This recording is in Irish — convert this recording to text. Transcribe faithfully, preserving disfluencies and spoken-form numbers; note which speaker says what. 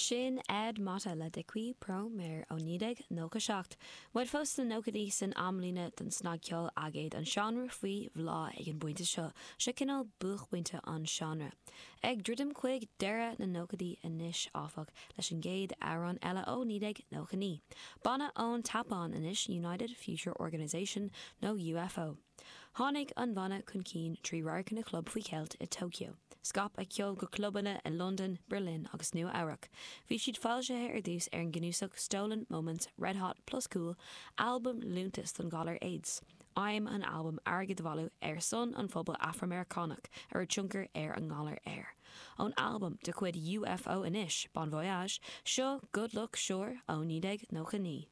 Speaker 1: Sin Ed Motta le De Qui Pro Mare ó naoi déag nócha seacht. Muid fós sna nóchaidí san amlíne don snagcheol aigéid an seánra faoi bhláth ag an bpointe seo, seo cineál buaicphointe an seánra. Ag druidim chuig deireadh na nóchaidí anois áfach leis an gcéad amhrán eile ó naoi déag nócha naoi. Banna ón tSeapáin anois United Future Organization nó UFO. Tháinig an banna chun cinn trí radharcanna club faoi cheilt i Tokyo. Scaip a ceol go clubanna i Londain, Berlin agus Nua Eabhrac. Bhí siad foilsithe ar dtús ar an gcnuasach Stolen Moments Red Hot Plus Cool, albam liúntas don ghalar AIDS. Aidhm an albaim airgead a bhailiú ar son an phobal Afra-Meiriceánach a raibh tionchar ar an ngalar air. Ón albam de chuid UFO anois, Bon Voyage, seo Good Luck Sure ó naoi déag nócha naoi.